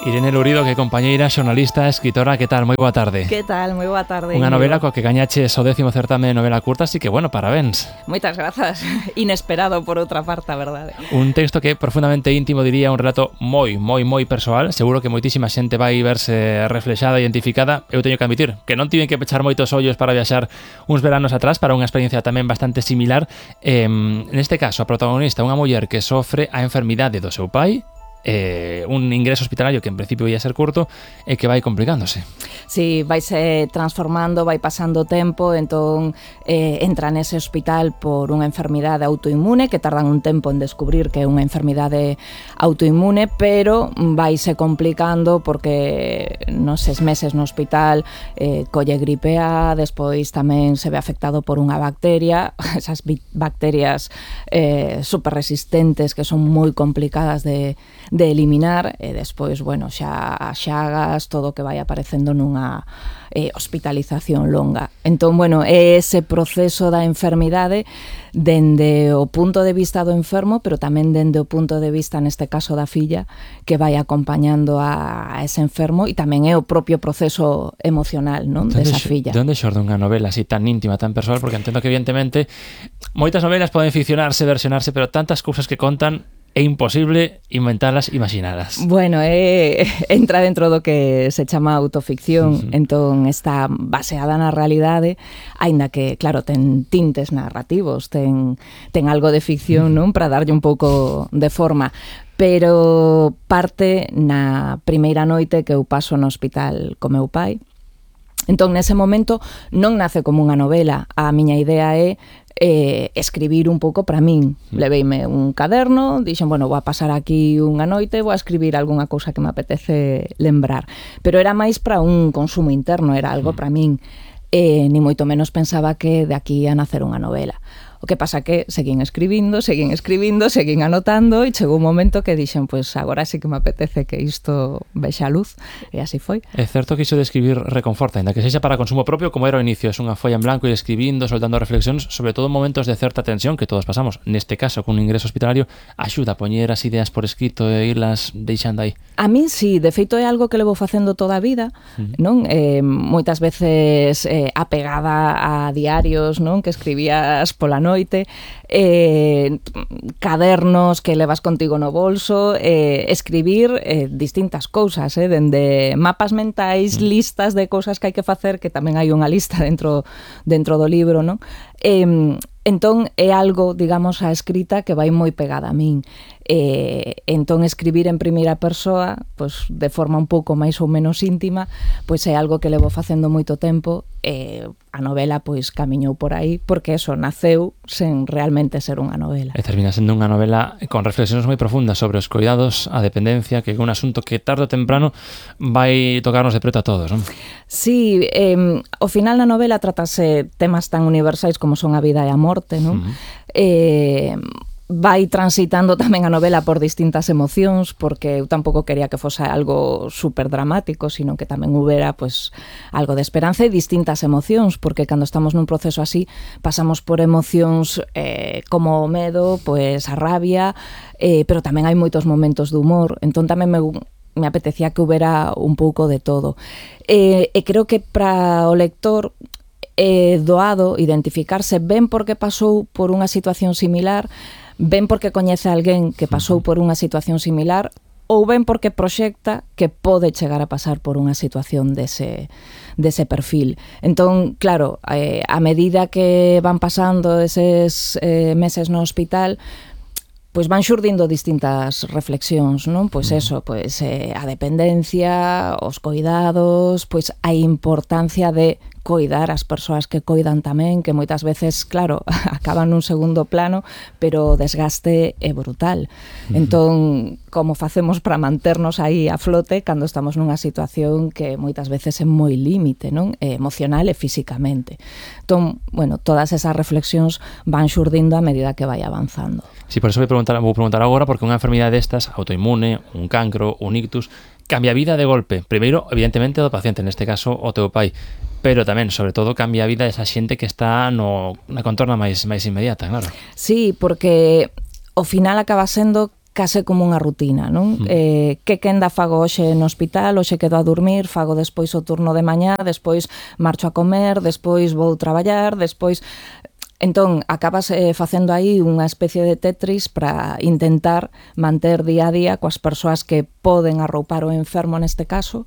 Irene Lourido, que é compañeira, xornalista, escritora, que tal? Moi boa tarde. Que tal? Moi boa tarde. Unha novela coa que gañaches o 10º certame de novela curta, así que, bueno, parabéns. Moitas grazas. Inesperado, por outra parte, a verdade. Un texto que é profundamente íntimo, diría, un relato moi persoal. Seguro que moitísima xente vai verse reflexada, identificada. Eu teño que admitir que non tiven que pechar moitos ollos para viaxar uns veranos atrás para unha experiencia tamén bastante similar. Neste caso, a protagonista, unha muller que sofre a enfermidade do seu pai, un ingreso hospitalario que en principio ia ser curto e que vai complicándose. Sí, vaise transformando, vai pasando o tempo, entón entra nese hospital por unha enfermidade autoinmune que tardan un tempo en descubrir que é unha enfermidade autoinmune, pero vaise complicando porque nos 6 meses no hospital colle gripe A, despois tamén se ve afectado por unha bacteria, esas bacterias super resistentes que son moi complicadas de eliminar, e despois, bueno, xa as xagas, todo o que vai aparecendo nunha hospitalización longa. Entón, bueno, é ese proceso da enfermidade dende o punto de vista do enfermo, pero tamén dende o punto de vista, neste caso da filla, que vai acompañando a ese enfermo, e tamén é o propio proceso emocional, non, desa filla. De onde xorde unha novela así tan íntima, tan persoal? Porque entendo que, evidentemente, moitas novelas poden ficcionarse, versionarse, pero tantas cousas que contan é imposible inventalas, imaginalas. Bueno, entra dentro do que se chama autoficción, entón está baseada na realidade, aínda que, claro, ten tintes narrativos, ten algo de ficción, non, para darlle un pouco de forma, pero parte na primeira noite que eu paso no hospital co meu pai. Entón, nese momento, non nace como unha novela. A miña idea é escribir un pouco para min. Leveime un caderno, dixen, bueno, vou a pasar aquí unha noite, vou a escribir algunha cousa que me apetece lembrar. Pero era máis para un consumo interno, era algo para min. Ni moito menos pensaba que de aquí a nacer unha novela. O que pasa que seguín escribindo, seguín anotando, e chegou un momento que dixen, pois agora sí que me apetece que isto vexa a luz, e así foi. É certo que iso de escribir reconforta, ainda que sexa para consumo propio, como era o inicio, é unha folla en blanco e escribindo, soltando reflexións, sobre todo en momentos de certa tensión que todos pasamos. Neste caso, con un ingreso hospitalario, axuda a poñer as ideas por escrito e irlas deixando aí. A min sí, de feito é algo que levo facendo toda a vida, non? Moitas veces apegada a diarios, non, que escribías pola noite, cadernos que levas contigo no bolso, escribir distintas cousas, dende mapas mentais, listas de cousas que hai que facer, que tamén hai unha lista dentro do libro, non? Entón é algo, digamos, a escrita que vai moi pegada a min. Entón escribir en primeira persoa, pois de forma un pouco máis ou menos íntima, pois é algo que levo facendo moito tempo. A novela pois camiñou por aí porque eso naceu sen realmente ser unha novela. E termina sendo unha novela con reflexións moi profundas sobre os cuidados, a dependencia, que é un asunto que tarde ou temprano vai tocarnos de preto a todos, non? Sí, ao final na novela tratase temas tan universais como son a vida e a morte, non? Vai transitando tamén a novela por distintas emocións, porque eu tampouco quería que fose algo super dramático, sino que tamén houbera pues, algo de esperanza e distintas emocións, porque cando estamos nun proceso así pasamos por emocións como o medo, pues, a rabia, pero tamén hai moitos momentos de humor, entón tamén me apetecía que houbera un pouco de todo. E creo que para o lector é doado identificarse ben porque pasou por unha situación similar, ben porque coñece a alguén que pasou por unha situación similar, ou ben porque proxecta que pode chegar a pasar por unha situación dese perfil. Entón, claro, a medida que van pasando eses meses no hospital, pois van xurdindo distintas reflexións, non? Pois eso, pois a dependencia, os coidados, pois a importancia de coidar as persoas que coidan tamén, que moitas veces, claro, acaban nun segundo plano, pero o desgaste é brutal. Entón, como facemos para manternos aí a flote cando estamos nunha situación que moitas veces é moi límite, non? Emocional e físicamente. Entón, bueno, todas esas reflexións van xurdindo a medida que vai avanzando. Sí, por eso vou preguntar agora, porque unha enfermidade destas, autoinmune, un cancro, un ictus, cambia a vida de golpe. Primeiro, evidentemente, do paciente, neste caso, o teu pai, pero tamén, sobre todo, cambia a vida desa xente que está na contorna máis inmediata, claro. Sí, porque ao final acaba sendo case como unha rutina, non? Que quenda fago hoxe no hospital, hoxe quedo a dormir, fago despois o turno de mañá, despois marcho a comer, despois vou traballar, despois... Entón, acabas facendo aí unha especie de Tetris para intentar manter día a día coas persoas que poden arroupar o enfermo neste caso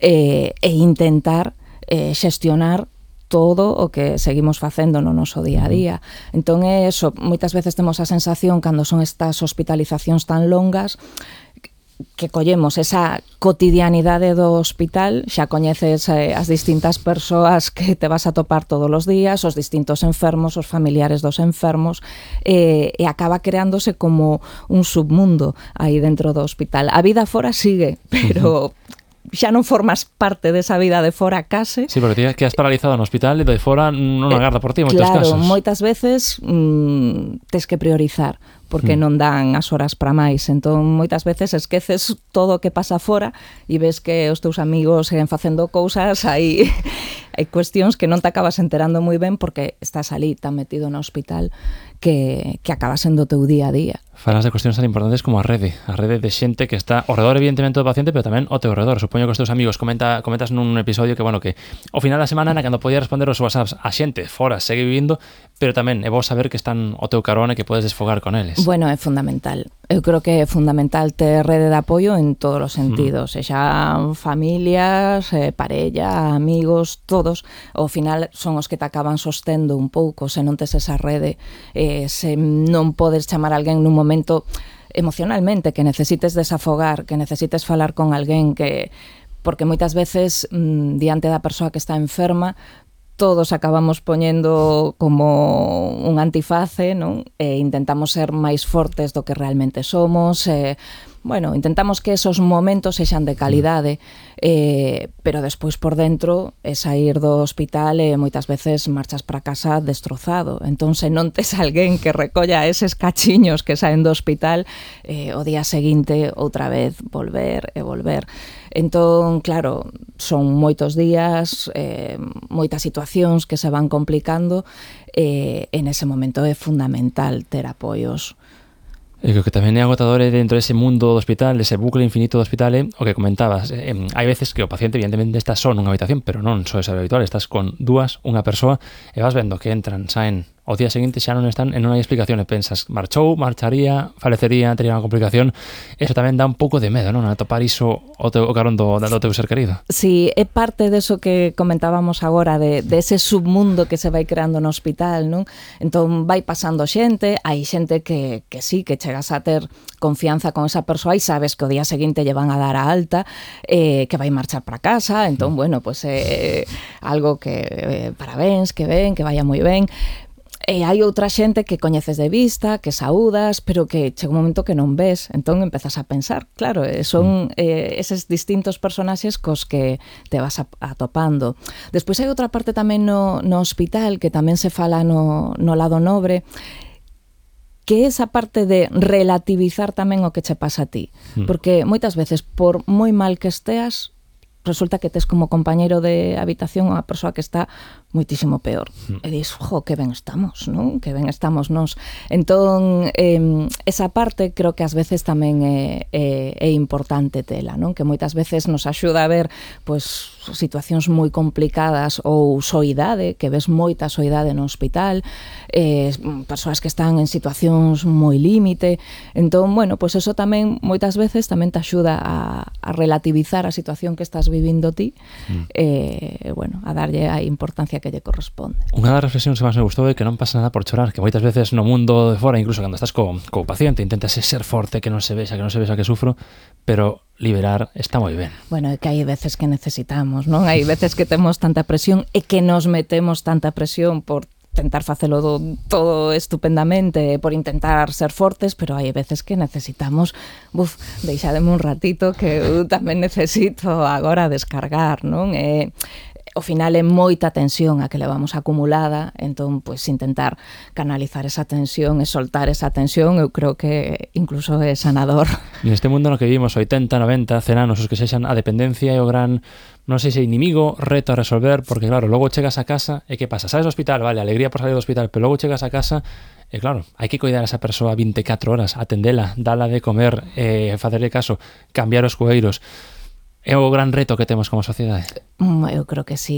e intentar xestionar todo o que seguimos facendo no noso día a día. Entón, é eso, moitas veces temos a sensación cando son estas hospitalizacións tan longas que collemos esa cotidianidade do hospital, xa coñeces as distintas persoas que te vas a topar todos os días, os distintos enfermos, os familiares dos enfermos, e acaba creándose como un submundo aí dentro do hospital. A vida fora sigue, pero... xa non formas parte desa vida de fora case. Sí, porque ti quedas paralizado no hospital e de fora non agarda por ti en moitos casos. Claro, moitas veces tes que priorizar porque non dan as horas para máis. Entón, moitas veces esqueces todo o que pasa fora e ves que os teus amigos seguen facendo cousas, hai cuestións que non te acabas enterando moi ben porque estás ali tan metido no hospital que acaba sendo o teu día a día. Falas de cuestións tan importantes como a rede de xente que está ao redor, evidentemente, do paciente, pero tamén ao teu redor. Supoño que os teus amigos comentas nun episodio que, bueno, que ao final da semana, cando podías responder os WhatsApps, a xente fora segue vivindo, pero tamén é bo saber que están ao teu carón e que podes desfogar con eles. Bueno, é fundamental. Eu creo que é fundamental ter rede de apoio en todos os sentidos, xa familias, parella, amigos, todos. Ao final son os que te acaban sostendo un pouco, se non tes esa rede, se non podes chamar a alguén nun momento emocionalmente que necesites desafogar, que necesites falar con alguén, que porque moitas veces diante da persoa que está enferma todos acabamos poñendo como un antiface, non? E intentamos ser máis fortes do que realmente somos, bueno, intentamos que esos momentos sexan de calidade, pero despois por dentro é sair do hospital e moitas veces marchas para casa destrozado. Entón, se non tes alguén que recolla eses cachiños que saen do hospital, o día seguinte outra vez volver e volver. Entón, claro, son moitos días, moitas situacións que se van complicando, e nese momento é fundamental ter apoios. E que tamén é agotador dentro dese mundo do hospital, ese bucle infinito do hospital, o que comentabas. Hai veces que o paciente, evidentemente, está só nunha habitación, pero non só é habitual, estás con dúas, unha persoa, e vas vendo que entran, saen, ao día seguinte xa non están e non hai explicación, e pensas, marchou, marcharía, falecería, tería unha complicación. Eso tamén dá un pouco de medo, non? A topar iso o carón do teu ser querido. Sí, é parte deso que comentábamos agora, de ese submundo que se vai creando no hospital, non? Entón vai pasando xente, hai xente que sí, que chegas a ter confianza con esa persoa e sabes que o día seguinte lle van a dar a alta, que vai marchar para casa, entón, bueno, pues algo que parabéns, que ben, que vaya moi ben. E hai outra xente que coñeces de vista, que saúdas, pero que chega un momento que non ves, entón empezas a pensar, claro, son eses distintos personaxes cos que te vas atopando. Despois hai outra parte tamén no hospital que tamén se fala no lado nobre, que é esa parte de relativizar tamén o que che pasa a ti, porque moitas veces, por moi mal que esteas, resulta que tes como compañeiro de habitación unha persoa que está moitísimo peor. E dis, que ben estamos, non? Que ben estamos nós. Entón, esa parte creo que ás veces tamén é importante tela, non? Que moitas veces nos axuda a ver pois situacións moi complicadas ou soidade, que ves moita soidade no hospital, persoas que están en situacións moi límite. Entón, bueno, pois eso tamén moitas veces tamén te axuda a relativizar a situación que estás vivindo ti, bueno, a darlle a importancia que lle corresponde. Unha das reflexións que máis me gustou é que non pasa nada por chorar, que moitas veces no mundo de fora, incluso cando estás co paciente, intentas ser forte, que non se vexa que sufro, pero liberar está moi ben. Bueno, é que hai veces que necesitamos, non? Hai veces que temos tanta presión e que nos metemos tanta presión por tentar facelo todo estupendamente, por intentar ser fortes, pero hai veces que necesitamos, deixademe un ratito que eu tamén necesito agora descargar, non? ao final é moita tensión a que levamos acumulada, entón, pois, intentar canalizar esa tensión e soltar esa tensión, eu creo que incluso é sanador. Neste mundo no que vivimos 80, 90, 100 anos, os que sexan a dependencia e o gran, non sei se inimigo, reto a resolver, porque claro, logo chegas a casa e que pasa? Sales do hospital, vale, alegría por salir do hospital, pero logo chegas a casa e claro, hai que coidar a esa persoa 24 horas, atendela, dala de comer, facerle caso, cambiar os cueiros. É o gran reto que temos como sociedade. Eu creo que sí.